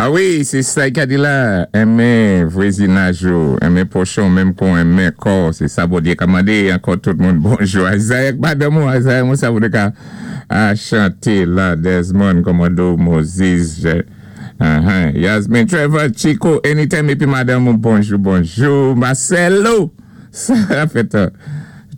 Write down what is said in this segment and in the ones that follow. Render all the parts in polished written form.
A wi, sé sa i ka di la, Enmen vwézinaj ou, enmen pwochen ou menm kon enmen kò ou, sé sa Bondyé ka mandé. Ankò tout moun bonjou. Isaac madanm ou, Isaiah mwen sa vou ka a chanté la. Desmond, Commando, Moses, Yasmin, Trevor, Chico, anytime épi madanm ou, bonjou, bonjou. Marcelo, sa fèt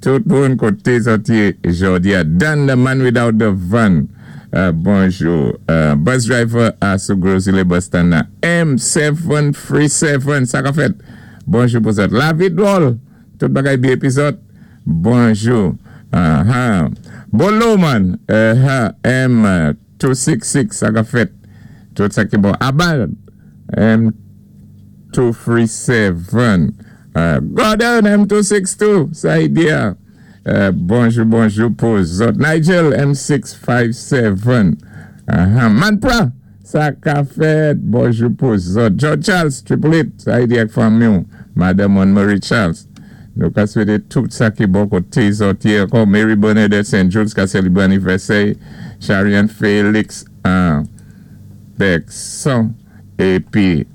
tout moun koté zòt yé jòdi a. Dan the man without the van. Bonjou. Bus driver a sou Gros Islet bus stand nan. M737, sa ka fèt. Bonjou pou zòt. Lavi dwòl. Tout bagay byen épi zòt. Bonjou. Bolo man. M266, sa ka fèt. Tout sa ki bon. Abal. M237. Gordon M262. Sa y di a. Bonjou, bonjou pou zòt. Nigel M657. Manpra, sa ka fèt. Bonjou pou zòt. George Charles, Triple Eight, sa y di ak fanmi ou. Madanm Marie Charles. Nou ka swété tout sa ki bon koté zòt yé ankò. Mary Bernadette St. Jules ka sélébwé anivèsè. Charian Félix Bergson. Épi,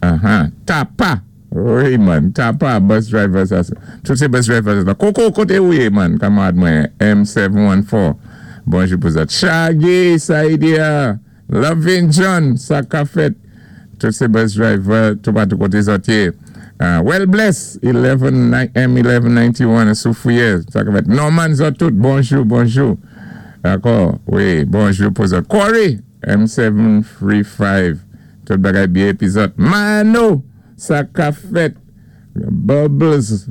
Tapa. Wi man, Tapa, bus driver sa. Tout sé bus driver sa. Koko, koté ou yé man, kanmarad mwen, M714. Bonjou pou zòt. Shaggy, sa y di a. Lovin John, sa ka fèt. Tout sé bus driver, tout patou koté zòt yé. Well bless, 11, M1191, sou Fouyè, sa ka fèt. Norman zòt tout, bonjou, bonjou. Dakò, wi, bonjou pou zòt. Corey, M735, tout bagay byen épi zòt. Mano, sa ka fèt. Bubbles,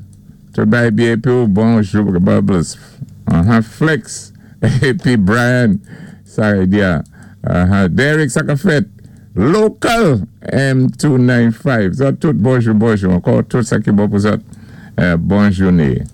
tout bagay byen épi ou, bonjou Bubbles. Flex, épi Brian, sa y di a. Derek, sa ka fèt. Local, M295. Zòt tout, bonjou, bonjou. Ankò, tout sa ki bon pou zòt. Bon jouné.